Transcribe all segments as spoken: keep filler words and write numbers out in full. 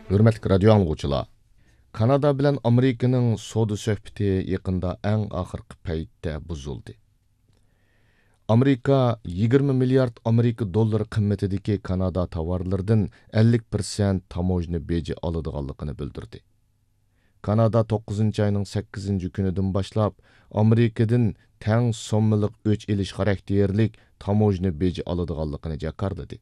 ھۆرمەتلىك رادىيو ئاڭلىغۇچىلار، كانادا بىلەن ئامېرىكىنىڭ سودا سۆھبىتى يېقىندا ئەڭ ئاخىرقى پەيتتە بۇزۇلدى. ئامېرىكا يىگىرمە مىليارد ئامېرىكا دوللىرى قىممىتىدىكى كانادا تاۋارلىرىدىن ئەللىك پىرسەنت تاموژنا بېجى ئالىدىغانلىقىنى بىلدۈردى. كانادا توققۇزىنچى ئاينىڭ سەككىزىنچى كۈنىدىن باشلاپ ئامېرىكىدىن تەڭ سوممىلىق ئۆچ ئېلىش خاراكتېرلىك تاموژنا بېجى ئالىدىغانلىقىنى جاكارلىدى.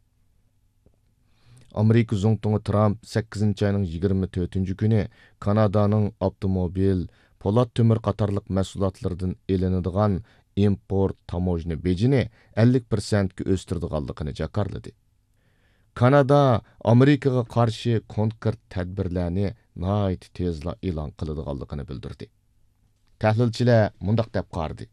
ئامېرىكا زۇڭتۇڭى ترامپ سەككىزىنچى ئاينىڭ يىگىرمە تۆتىنچى كۈنى كانادانىڭ ئاپتوموبىل، پولات تۆمۈر قاتارلىق مەھسۇلاتلىرىدىن ئېلىنىدىغان ئىمپورت تاموژنا بېجىنى ئەللىك پىرسەنتكە ئۆستۈرىدىغانلىقىنى جاكارلىدى. كانادا ئامېرىكىغا قارشى كونكرېت تەدبىرلەرنى ناھايىتى تېزلا ئېلان قىلىدىغانلىقىنى بىلدۈردى. تەھلىلچىلەر مۇنداق دەپ قارىدى.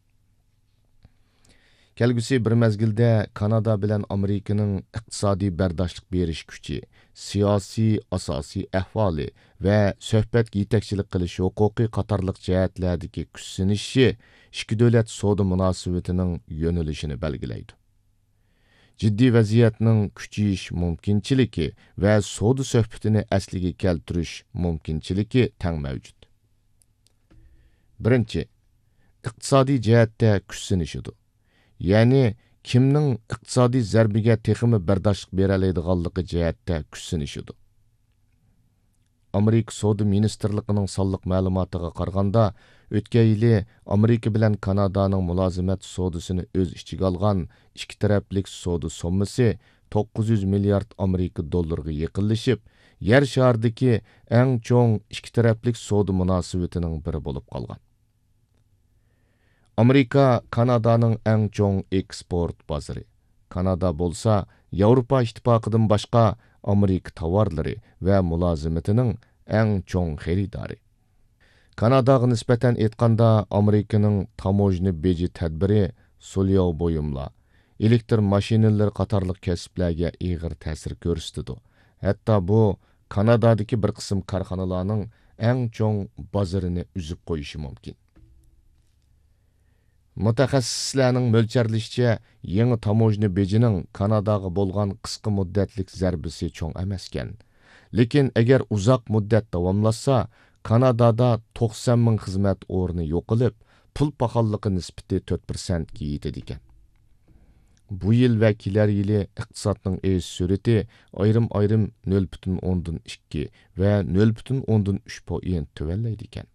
كەلگۈسى بىر مەزگىلدە كانادا بىلەن ئامېرىكىنىڭ ئىقتىسادىي بەرداشلىق بېرىش كۈچى، سىياسىي ئاساسىي ئەھۋالى ۋە سۆھبەتكە يېتەكچىلىك قىلىش ھوقۇقى قاتارلىق جەھەتلەردىكى كۈچ سىنىشىشى ئىككى دۆلەت سودا مۇناسىۋىتىنىڭ يۆنىلىشىنى بەلگىلەيدۇ. جىددىي ۋەزىيەتنىڭ كۈچىيىش مۇمكىنچىلىكى ۋە سودا سۆھبىتىنى ئەسلىگە كەلتۈرۈش مۇمكىنچىلىكى تەڭ مەۋجۇت. بىرىنچى، ئىقتىسادىي جەھەتتە كۈچ سىنىشىدۇ. يەنى كىمنىڭ ئىقتىسادىي زەربىگە تېخىمۇ بەرداشلىق بېرەلەيدىغانلىقى جەھەتتە كۈچ سىنىشىدۇ. ئامېرىكا سودا مىنىستىرلىقىنىڭ سانلىق مەلۇماتىغا قارىغاندا، ئۆتكەن يىلى ئامېرىكا بىلەن كانادانىڭ مۇلازىمەت سودىسىنى ئۆز ئىچىگە ئالغان ئىككى تەرەپلىك سودا سوممىسى توققۇز يۈز مىليارد ئامېرىكا دوللىرىغا يېقىنلىشىپ، يەر شارىدىكى ئەڭ چوڭ ئىككى تەرەپلىك سودا مۇناسىۋىتىنىڭ بىرى بولۇپ قالغان. ئامېرىكا كانادانىڭ ئەڭ چوڭ ئېكسپورت بازىرى. كانادا بولسا ياۋروپا ئىتتىپاقىدىن باشقا ئامېرىكا تاۋارلىرى ۋە مۇلازىمىتىنىڭ ئەڭ چوڭ خېرىدارى. كاناداغا نىسبەتەن ئېيتقاندا، ئامېرىكىنىڭ تاموژنا بېجى تەدبىرى سۇلياۋ بۇيۇملار، ئېلېكتر ماشىنىلىرى قاتارلىق كەسىپلەرگە ئېغىر تەسىر كۆرسىتىدۇ. ھەتتا بۇ كانادادىكى بىر قىسىم كارخانىلارنىڭ ئەڭ چوڭ بازىرىنى ئۈزۈپ قويۇشى مۇمكىن. مۇتەخەسسىسلەرنىڭ مۆلچەرلىشىچە، يېڭى تاموژنا بېجىنىڭ كاناداغا بولغان قىسقا مۇددەتلىك زەربىسى چوڭ ئەمەسكەن. لېكىن ئەگەر ئۇزاق مۇددەت داۋاملاشسا، كانادادا توقسان مىڭ خىزمەت ئورنى يوقىلىپ، پۇل پاخاللىقى نىسبىتى تۆت پىرسەنتكە يېتىدىكەن. بۇ يىل ۋە كېلەر يىلى ئىقتىسادنىڭ ئېشىش سۈرئىتى ئايرىم-ئايرىم نۆل پۈتۈن ئوندىن ئىككى ۋە نۆل پۈتۈن ئوندىن ئۈچ پوئىنت تۆۋەنلەيدىكەن.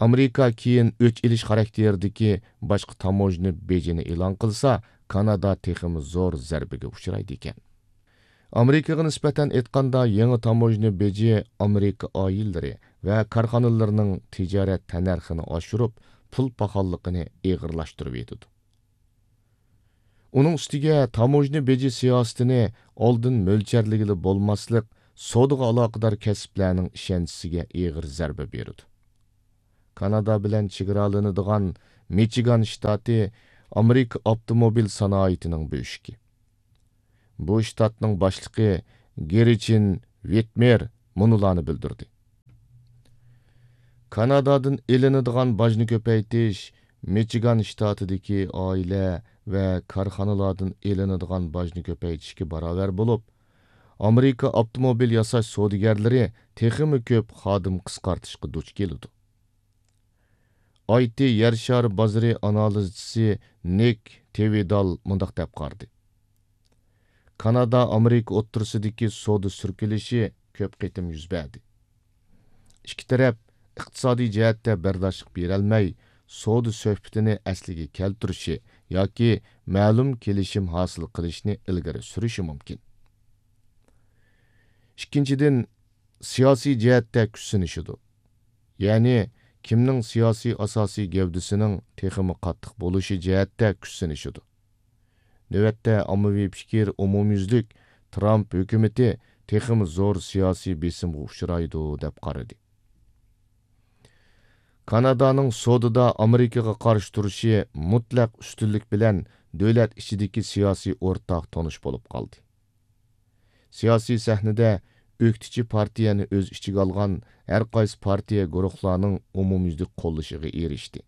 ئامېرىكا كېيىن ئۆچ ئېلىش خاراكتېرىدىكى باشقا تاموژنا بېجىنى ئېلان قىلسا، كانادا تېخىمۇ زور زەربىگە ئۇچرايدىكەن. ئامېرىكىغا نىسبەتەن ئېيتقاندا، يېڭى تاموژنا بېجى ئامېرىكا ئائىلىلىرى ۋە كارخانىلىرىنىڭ تىجارەت تەننەرخىنى ئاشۇرۇپ، پۇل پاخاللىقىنى ئېغىرلاشتۇرۇۋېتىدۇ. ئۇنىڭ ئۈستىگە تاموژنا بېجى سىياسىتىنى ئالدىن مۆلچەرلىگىلى بولماسلىق سودىغا ئالاقىدار كەسىپلەرنىڭ ئىشەنچىسىگە ئېغىر زەربە بېرىدۇ. كانادا بىلەن چېگرالىنىدىغان مىچىگان شتاتى ئامېرىكا ئاپتوموبىل سانائىتىنىڭ بۆشۈكى. بۇ شتاتنىڭ باشلىقى گېرىچىن ۋىتمېر مۇنۇلارنى بىلدۈردى. كانادادىن ئېلىنىدىغان باجنى كۆپەيتىش مىچىگان شتاتىدىكى ئائىلە ۋە كارخانىلاردىن ئېلىنىدىغان باجنى كۆپەيتىشكە باراۋەر بولۇپ، ئامېرىكا ئاپتوموبىل ياساش سودىگەرلىرى تېخىمۇ كۆپ خادىم قىسقارتىشقا دۇچ كېلىدۇ. ئاي تى يەر شارى بازىرى ئانالىزچىسى نىك تېۋىدال مۇنداق دەپ قارىدى. كانادا ئامېرىكا ئوتتۇرىسىدىكى سودا سۈركىلىشى كۆپ قېتىم يۈز بەردى. ئىككى تەرەپ ئىقتىسادىي جەھەتتە بەرداشلىق بېرەلمەي، سودا سۆھبىتىنى ئەسلىگە كەلتۈرۈشى ياكى مەلۇم كېلىشىم ھاسىل قىلىشنى ئىلگىرى سۈرۈشى مۇمكىن. ئىككىنچىدىن، سىياسىي جەھەتتە كۈچ سىنىشىدۇ. يەنى، كىمنىڭ سىياسىي ئاساسىي گەۋدىسىنىڭ تېخىمۇ قاتتىق بولۇشى جەھەتتە كۈچ سىنىشىدۇ. نۆۋەتتە ئاممىۋى پىكىر ئومۇميۈزلۈك، ترامپ ھۆكۈمىتى تېخىمۇ زور سىياسىي بېسىمغا ئۇچرايدۇ، دەپ قارىدى. كانادانىڭ سودىدا ئامېرىكىغا قارشى تۇرۇشى مۇتلەق ئۈستۈنلۈك بىلەن دۆلەت ئىچىدىكى سىياسىي ئورتاق تونۇش بولۇپ قالدى. سىياسىي سەھنىدە ئۆكتىچى پارتىيەنى ئۆز ئىچىگە ئالغان ھەر قايسى پارتىيە گۇرۇھلارنىڭ ئومۇميۈزلۈك قوللىشىغا ئېرىشتى.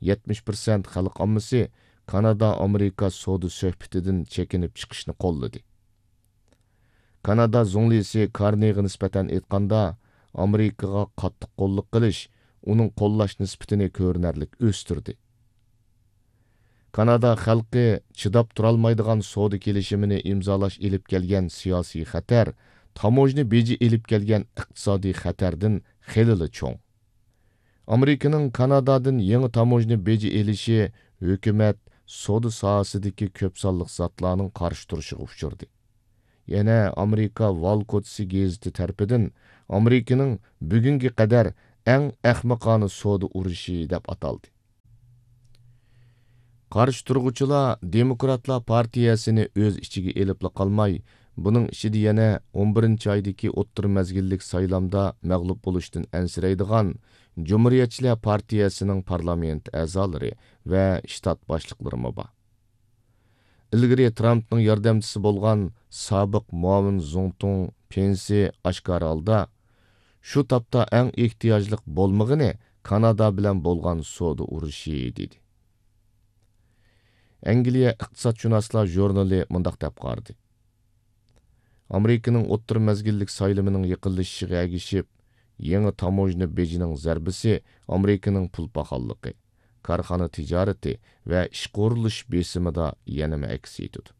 يەتمىش پىرسەنت خەلق ئاممىسى كانادا-ئامېرىكا سودا سۆھبىتىدىن چېكىنىپ چىقىشنى قوللىدى. كانادا زۇڭلىسى كارنىغا نىسبەتەن ئېيتقاندا، ئامېرىكىغا قاتتىق قوللۇق قىلىش ئۇنىڭ قوللاش نىسبىتىنى كۆرۈنەرلىك ئۆستۈردى. كانادا خەلقى چىداپ تۇرالمايدىغان سودا كېلىشىمىنى ئىمزالاش ئېلىپ كەلگەن سىياسىي خەتەر تاموژنا بېجى ئېلىپ كەلگەن ئىقتىسادىي خەتەردىن خېلىلا چوڭ. ئامېرىكىنىڭ كانادادىن يېڭى تاموژنا بېجى ئېلىشى ھۆكۈمەت، سودا ساھەسىدىكى كۆپ سانلىق زاتلارنىڭ قارشى تۇرۇشىغا ئۇچرىدى. يەنە ئامېرىكا ۋال كوچىسى گېزىتى تەرىپىدىن ئامېرىكىنىڭ بۈگۈنگە قەدەر ئەڭ ئەخمىقانە سودا ئۇرۇشى دەپ ئاتالدى. قارشى تۇرغۇچىلار دېموكراتلار پارتىيەسىنى ئۆز ئىچىگە ئېلىپلا قالماي، بۇنىڭ ئىچىدە يەنە ئون بىرىنچى ئايدىكى ئوتتۇرا مەزگىللىك سايلامدا مەغلۇپ بولۇشتىن ئەنسىرەيدىغان جۇمھۇرىيەتچىلەر پارتىيەسىنىڭ پارلامېنت ئەزالىرى ۋە شتات باشلىقلىرىمۇ بار. ئىلگىرى ترامپنىڭ ياردەمچىسى بولغان سابىق مۇئاۋىن زۇڭتۇڭ پېنسى ئاشكارا ھالدا، شۇ تاپتا ئەڭ ئېھتىياجلىق بولمىغىنى كانادا بىلەن بولغان سودا ئۇرۇشى، دېدى. ئەنگلىيە ئىقتىسادشۇناسلار ژۇرنىلى مۇنداق دەپ قارىدى: ئامېرىكىنىڭ ئوتتۇرا مەزگىللىك سايلىمىنىڭ يېقىنلىشىشىغا ئەگىشىپ، يېڭى تاموژنا بېجىنىڭ زەربىسى ئامېرىكىنىڭ پۇل پاخاللىقى، كارخانا تىجارىتى ۋە ئىشقا ئورۇنلىشىش بېسىمىدا يەنىمۇ ئەكس ئېتىدۇ.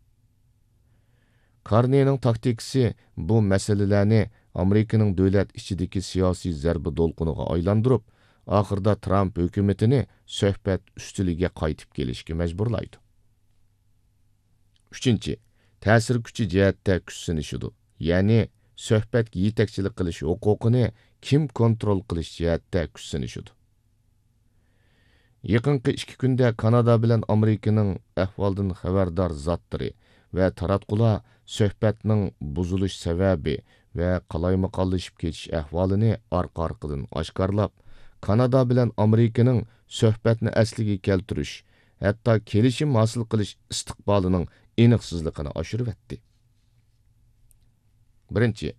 كارنىنىڭ تاكتىكىسى بۇ مەسىلىلەرنى ئامېرىكىنىڭ دۆلەت ئىچىدىكى سىياسىي زەربە دولقۇنىغا ئايلاندۇرۇپ، ئاخىرىدا ترامپ ھۆكۈمىتىنى سۆھبەت ئۈستىلىگە قايتىپ كېلىشكە مەجبۇرلايدۇ. ئۈچىنچى، تەسىر كۈچى جەھەتتە كۈچ سىنىشىدۇ، يەنى سۆھبەتكە يېتەكچىلىك قىلىش ھوقۇقىنى كىم كونترول قىلىش جەھەتتە كۈچ سىنىشىدۇ. يېقىنقى ئىككى كۈندە كانادا بىلەن ئامېرىكىنىڭ ئەھۋالدىن خەۋەردار زاتلىرى ۋە تاراتقۇلار سۆھبەتنىڭ بۇزۇلۇش سەۋەبى ۋە قالايمىقانلىشىپ كېتىش ئەھۋالىنى ئارقا-ئارقىدىن ئاشكارىلاپ، كانادا بىلەن ئامېرىكىنىڭ سۆھبەتنى ئەسلىگە كەلتۈرۈش، ھەتتا كېلىشىم ھاسىل قىلىش ئىستىقبالىنىڭ ئېنىقسىزلىقىنى ئاشۇرۇۋەتتى. بىرىنچى،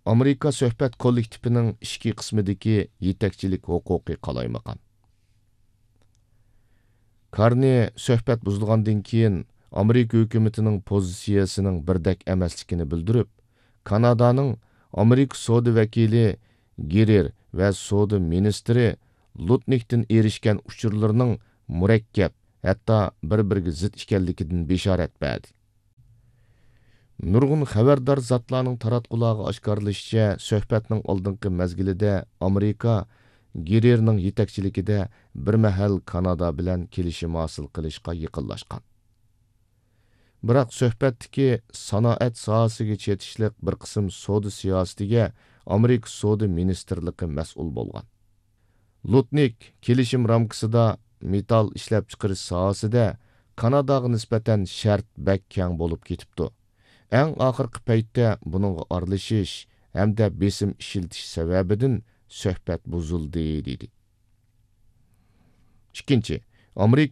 ئامېرىكا سۆھبەت كوللېكتىپىنىڭ ئىچكى قىسمىدىكى يېتەكچىلىك ھوقۇقى قالايمىقان. كارنى سۆھبەت بۇزۇلغاندىن كېيىن، ئامېرىكا ھۆكۈمىتىنىڭ پوزىتسىيەسىنىڭ بىردەك ئەمەسلىكىنى بىلدۈرۈپ، كانادانىڭ ئامېرىكا سودا ۋەكىلى گېرېر ۋە سودا مىنىستىرى لۇتنىكتىن ئېرىشكەن ئۇچۇرلىرىنىڭ مۇرەككەپ، ھەتتا بىر-بىرىگە زىت ئىكەنلىكىدىن بېشارەت بەردى. نۇرغۇن خەۋەردار زاتلارنىڭ تاراتقۇلارغا ئاشكارىلىشىچە، سۆھبەتنىڭ ئالدىنقى مەزگىلىدە ئامېرىكا گېرېرنىڭ يېتەكچىلىكىدە بىر مەھەل كانادا بىلەن كېلىشىم ھاسىل قىلىشقا يېقىنلاشقان. بىراق سۆھبەتتىكى سانائەت ساھەسىگە چېتىشلىق بىر قىسىم سودا سىياسىتىگە ئامېرىكا سودا مىنىستىرلىقى مەسئۇل بولغان. لۇتنىك كېلىشىم رامكىسىدا مېتال ئىشلەپچىقىرىش ساھەسىدە كاناداغا نىسبەتەن شەرت بەك كەڭ بولۇپ كېتىپتۇ. ئەڭ ئاخىرقى پەيتتە بۇنىڭغا ئارىلىشىش ھەمدە بېسىم ئىشلىتىش سەۋەبىدىن سۆھبەت بۇزۇلدى، دېدى. ئىككىنچى، ئامېرىكا